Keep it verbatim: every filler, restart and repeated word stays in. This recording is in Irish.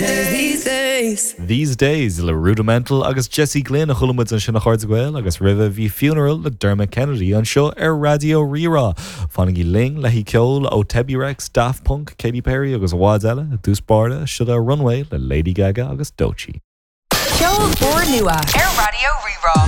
days, these days. These Days le Rudimental agus Jesse Glynn a chuala muid ansin a chairde Gael agus roimhe bhí Funeral le Dermot Kennedy anseo ar Raidió Rí-Rá. Fanaigí linn le ceol ó Tebi Rex, Daft Punk, Katy Perry agus i bhfad eile dtús báire seo Runway le Lady Gaga agus Doechii. Ceol úrnua ar Raidió Rí-Rá.